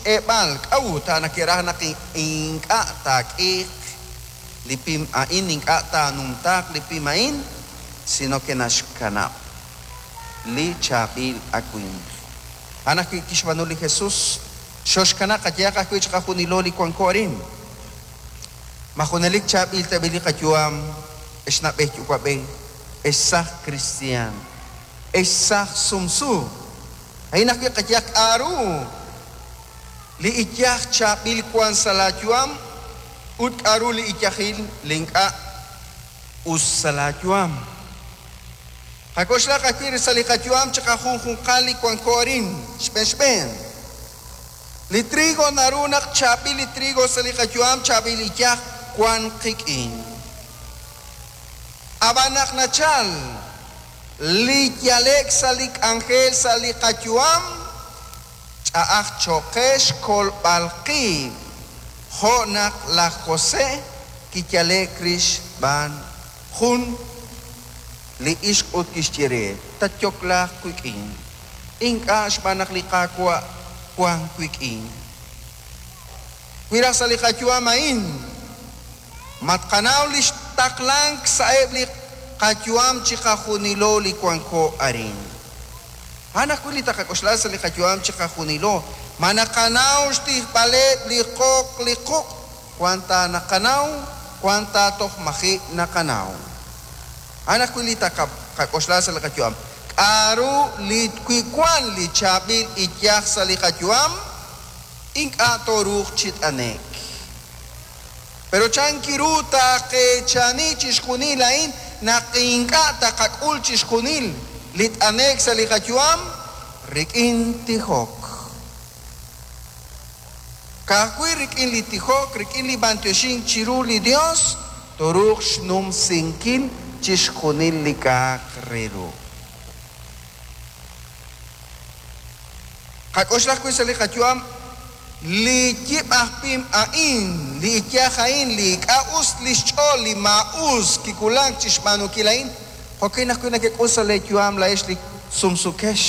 chixk'eeb'al. K'a'ut? A'an neke'raj naq ink'a' taak'iiq li pim a'in, ink'a' taanumtaaq li pim a'in, sino que naxkanab' li chaab'il awimq. A'an ajwi' kixb'aanu li Jesus, xoxkanab' qayehaq ajwi' chiqajunilo li wanko arin. Ma junelik chaab'il tab'i' li qayu'am, ex na'b'ej yuwa'b'ej, ex saaj kristiaan, ex saaj sumsu? A'in ajwi' qayehaq k'a'ru li iyaj chaab'il wan sa' laa yu'am ut k'a'ru li iyajil li ink'a' us sa' laa yu'am. Qak'oxlaq ajwi' sa' li qayu'am chiqajunjunqal li wanko arin, xb'een xb'een. Li trigo naru naq chaab'il li trigo sa' li qayu'am, chaab'il iyaj wan qik'in. Ab'an naq nachal li yale'k sa' li k'anjel sa' li qayu'am, ch'a'aj cho'q qe xkolb'al qib', jo' naq laj José kiyale'k rix xb'aan jun li ixq ut kixye re, Tatyoklaaq wik'in. Ink'a' xb'aan naq li Qaawa' wank wik'in. Wi raj sa' li qayu'am a'in, ma tqanaw li xtaqlank sa'eb' li qayu'am chiqajunilo li wanko arin? A'an ajwi' li taqak'oxla sa' li qayu'am chiqajunilo, ma naqanaw xtijb'aleb' li qoq li quq'? Wan ta naqanaw, wan ta toj maji' naqanaw. A'an ajwi' li taqak'oxla sa' li qayu'am. K'a'ru li wi wan li chaab'il iyaj sa' li qayu'am, ink'a' tooruuq chi t'ane'k. Pero chan kiru taaqeechani chixjunil a'in naq ink'a' taqak'ul chixjunil li t'ane'k sa' li qayu'am? Rik'in tijok. Ka'ajwi' rik'in li tijok, rik'in li b'antioxink chiru li Dios, tooruuq xnumsinkil chixjunil li k'a'aq re ru. Qak'oxla ajwi' sa' li qayu'am li yib' aj pim a'in, li iyaj a'in, li ink'a' us li xch'ool, li maa'us kiwulak chi xb'aanunkil a'in, jo'kin ajwi' nekek'ul sa' leeyu'am laa'ex li sumsukex.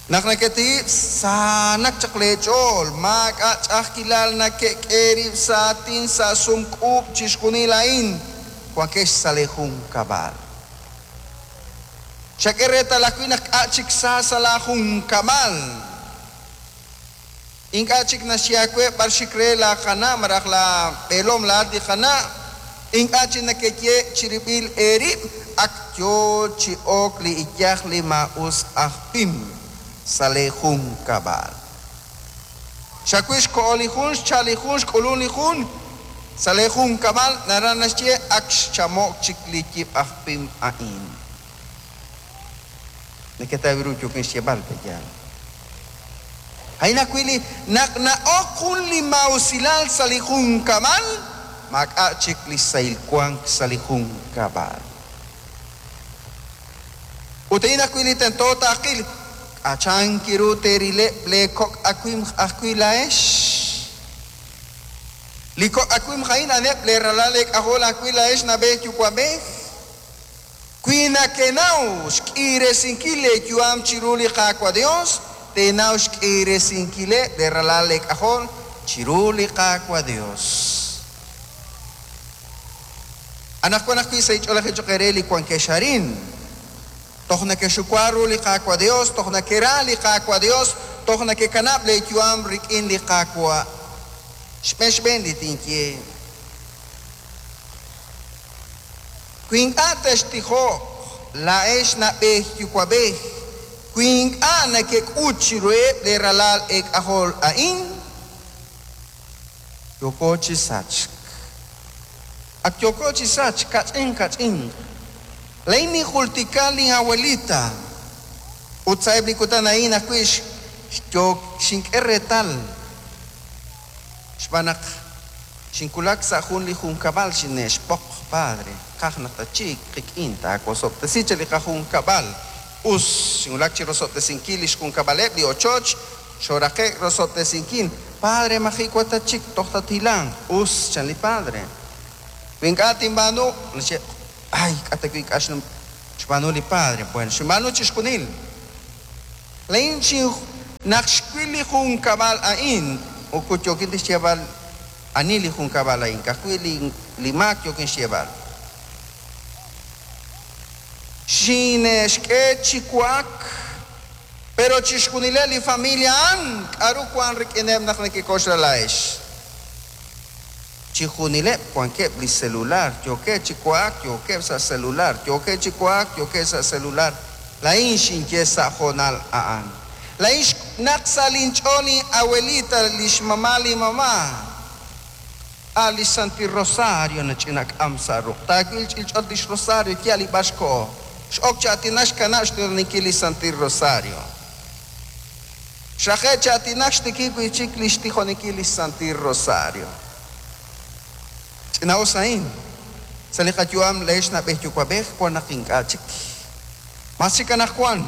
Naq neketihib' saanak chaq leech'ool, maak'a' ch'a'ajkilal neke'k'e rib' sa' aatin sa' sumk'uub' chixjunil a'in, wankex sa' lee junkab'al. Xak'e reetal ajwi' naq k'a' chik sa sa' laa junkab'al. Ink'a' chik naxye aawe b'ar xik re laa qana' malaj laa b'eelom laa'at li qana', ink'a' chik nekeye chirib'il eerib' ak yoo chi ok li iyaj li maa'us aj pim sa' lee junkab'al. Xawil xko'o li jun, xchal li jun, xk'ulun li jun sa' lee junkab'al, naraj naxye ak xchamo'k chik li yib' aj pim a'in. Neketaw ru yookin xyeeb'al, pe'yaal? A'in ajwi' li naq na'ok jun li maa'usilal sa' li junkab'al, maak'a' chik li sahil wank sa' li junkab'al. Ut a'in ajwi' li tento taaqil, k'a' chank ru teerileb' lee kok' awimq ajwi' laa'ex? Li kok' awimq a'in a'aneb' lee ralal eek'ajol ajwi' laa'ex na'b'ej yuwa'b'ej. Wi nekenaw xk'iiresinkil leeyu'am chiru li Qaawa' Yos, teenaw xk'iiresinkileb' leeralal eek'ajol chiru li Qaawa' Yos. Anaqwan ajwi' sa' inch'oolejil cho'q eere li wankex arin, toj nekexxuwa ru li Qaawa' Yos, toj nekera li Qaawa' Yos, toj nekekanab' leeyu'am rik'in li Qaawa'. Xb'een xb'een li tinye. Wi ink'a' textijoq, laa'ex na'b'ej yuwa'b'ej, wi ink'a' nekek'ut chiruheb' leeralal eek'ajol a'in, yooko chi sachk. Ak yooko chi sachk kach'in kach'inq. Laa'in ninjultika lin'abuelita, ut sa'eb' li kutan a'in ajwi' xink'e reetal xb'aan naq Xinwulak sa' jun li junkab'al xine'xb'oq, Padre, qaj naq tatxik qik'in, taawosob'tesi chaq li qajunkab'al. Us, xinwulak chi rosob'tesinkil lix junkab'aleb' li ochoch, xooraqe'k rosob'tesinkil. Padre, maji' wa tatxik, toj tathilanq. Us, chan li padre. Wi ink'a' tinb'aanu, naxye, Ay, k'a' ta wi' ink'a' xb'aanu li padre. Bueno, xinb'aanu chixjunil. Laa'in Naq xwil li junkab'al a'in, moko yookin ta xyeeb'al ani li junkab'al a'in, ka'ajwi' li li maak yookin xyeeb'al. Xine'xk'e chi wa'ak, pero chixjunileb' li familia a'an, k'a'ru wan rik'ineb' naq nekek'oxla laa'ex? Chixjunileb' wankeb' li celular, yookeb' chi wa'ak, yookeb' sa' celular, yookeb' chi wa'ak, yookeb' sa' celular. Laa'in xinye sa' hoonal a'an. Laa'in naq sa' linch'ool lin abuelita, lix mamá li mamá, a' li Santil Rosario nach'inak'am sa' ruq'. Taawil ch'ilch'ot lix Rosario, yal li b'ar xkoho. X'ok chi aatinak xkanab' xtuninkil li Santil Rosario. Xraqe' chi aatinak xtikib' wi'chik lix tijoninkil li Santil Rosario. Ch'ina'us a'in. Sa' li qayu'am leex na'b'ej yuwa'b'ej wan naq ink'a' chik. Mas chik anaqwan,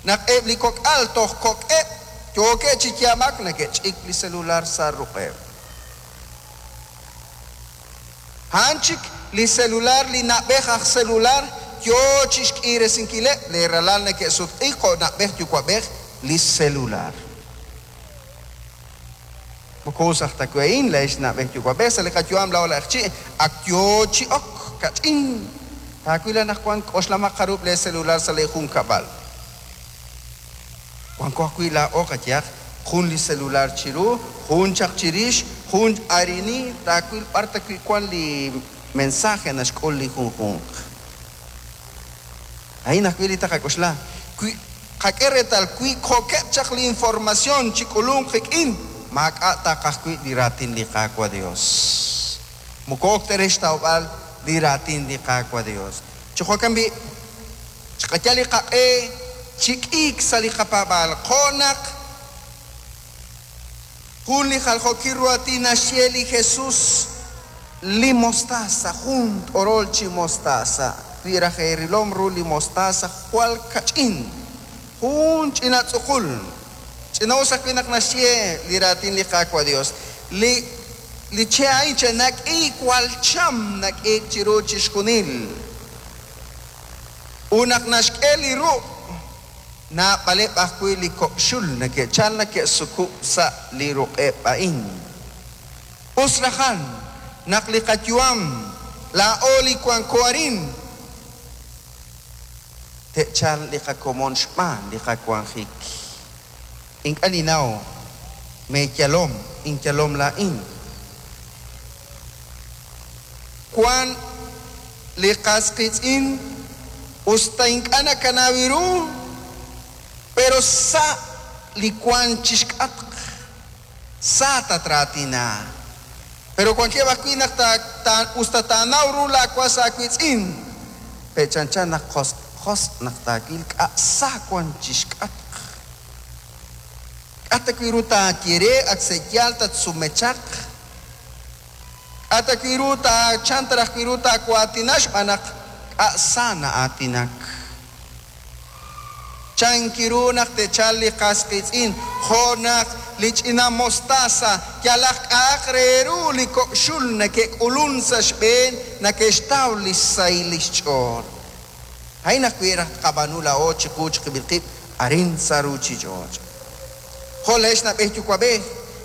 naq eb' li kok'al toj kok'eb' yookeb' chi yaab'ak neke'ch'ik li celular sa' ruq'eb'. A'an chik li celular li na'b'ej aj celular yoo chixk'iresinkileb' lee ralal neke'sutq'iik jo' na'b'ej yuwa'b'ej li celular. Moko us aj ta wi' a'in leex na'b'ej yuwa'b'ej sa' li qayu'am laa'o laj chi' ak yoo chi ok kach'in. Taawil anaqwan k'oxlamaq jarub' lee celular sa' lee junkab'al. Wanko ajwi' laa'o qayehaq jun li celular chiru, jun chaq chirix, jun arini, taawil b'ar ta wi' wan li mensaje naxk'ul li junjunq. A'in ajwi' li taqak'oxla. Wi qak'e reetal wi kok'eb' chaq li información chi k'ulunk qik'in, maak'a' taqajwi' li raatin li Qaawa' Dios. Moko ok ta re xtawb'al li raatin li Qaawa' Dios. Chi jo'kan b'i', chiqayal li qaq'e chi k'iik sa' li qapaab'aal. Jo' naq jun li jaljookil ru aatin naxye li Jesus, li mostaza, jun t'orol chi mostaza. Wi raj eerilom ru li mostaza jwal kach'in, jun ch'ina tz'uqul. Ch'ina'us ajwi' naq naxye li raatin li Qaawa' Dios. Li li che' a'in che nak'iik jwal cham nak'iik chiru chixjunil. Ut naq naxk'e li ruq', naab'aleb' ajwi' li kok' xul neke'chal neke'sukub' sa' li ruq'eb' a'in. Us rajan naq li qayu'am laa'o li wanko arin te'chal li qakomon xb'aan li qawanjik. Ink'a' ninnaw meeyalom, inyalom laa'in. Wan li qas qiitz'in us ta ink'a' nakanaw ru, pero sa' li wan chixk'atq, sa tatraatina. Pero wankeb' ajwi' naq ta ta us ta taanaw ru laawas aawiitz'in, pe'chanchan naq josq' josq' naq taawil k'a' sa wan chixk'atq. K'a' ta wi' ru taaye re ak se'yaal tatsumechaq. K'a' ta wi' ru taachan ta raj wi' ru taawaatina xb'aan naq k'a' sa na'aatinak. Chankiru naq te'chal li qas qiitz'in, jo' naq li ch'ina mostaza yalaq k'a'aq re ru li kok' xul neke'k'ulun sa' xb'een neke'xtaw li xsahil li xch'ool. A'in ajwi' raj tqab'aanu laa'o chiqu chiqib'il qib' arin sa' ruuchich'och'. Jo' leex na'b'ej yuwa'b'ej,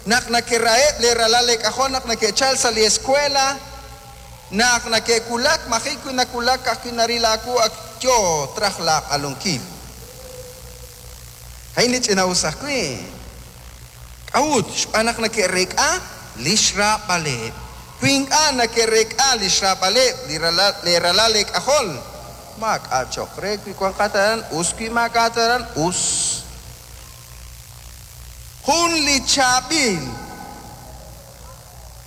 naq nekeraheb' lee ralal leek'ajol naq neke'chal sa' li escuela, naq neke'wulak maji' wi nawulak ka'ajwi' naril aawu ak yoo traj laaq'alunkil. A'in li ch'ina'us ajwi'. K'a'ut? Xb'aan naq neke'reek'a li xraab'aleb'. Wi ink'a' neke'reek'a li xraab'aleb' li ralal lee ralal leek'ajol, maak'a' cho'q re wi wanqat aran us, wi maak'a'at aran us. Jun li chaab'il,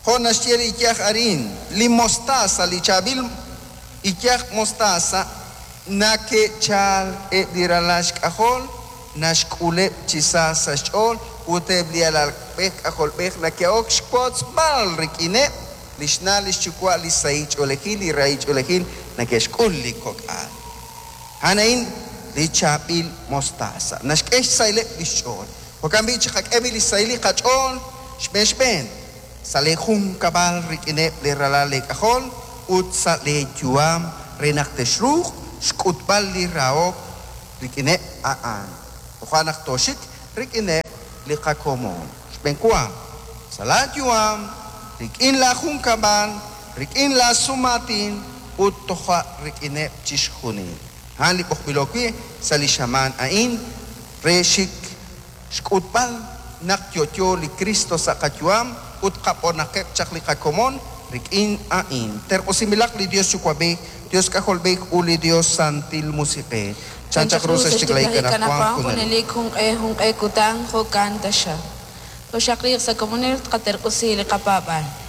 jo' naxye li iyaj arin, li mostaza, li chaab'il iyaj mostaza neke'chal eb' li ralal xk'ajol, naxk'uleb' chi sa sa' xch'ool ut eb' li alalb'ej k'ajolb'ej neke'ok xwotzb'al rik'ineb' li xna' li xyuwa' li sahil ch'oolejil, li rahil ch'oolejil neke'xk'ul li kok'al. A'an a'in li chaab'il mostaza. Naxk'e xsahileb' li xch'ool. Jo'kan b'i' chiqak'e b'i' li xsahil li qach'ool xb'een xb'een sa' lee junkab'al rik'ineb' lee ralal leek'ajol ut sa' lee yu'am re naq texruuq xk'utb'al li rahok rik'ineb' a'an. Toja' naq tooxik rik'ineb'. li qakomon. Xb'enwa, sa' laayu'am, rik'in laajunkab'al, rik'in laasumaatin ut toja' rik'ineb' chixjunil. A'an li b'oqb'ilo wi' sa' li xamaan a'in re xik xk'utb'al naq yo'yo li Kristo sa' qayu'am ut qab'onaqeb' chaq li qakomon rik'in a'in. Terq'usinb'ilaq li Dios Yuwa'b'ej, Dios K'ajolb'ej ut li Dios Santil Musiq'ej. Chan chaq ru sa' xtiklajik anaqwan junelik. Junelik junq'e junq'e kutan jo'kan taxaq. Toxaqliiq sa' komonil tqaterq'usi li qapaab'aal.